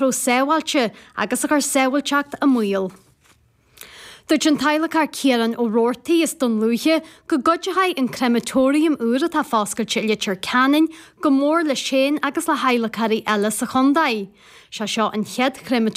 raibh sábháilte agus a chuir sábháilteacht i mbaol. Dúirt an t-adhlacóir Ciarán Ó Roartaigh as Dún Lúiche go gcuideoidh an créamatóiriam úr atá foscailte i Leitir Ceanainn go mór leis féin agus le hadhlacóirí eile sa chontae. Sé seo an chéad chréamatóiriam.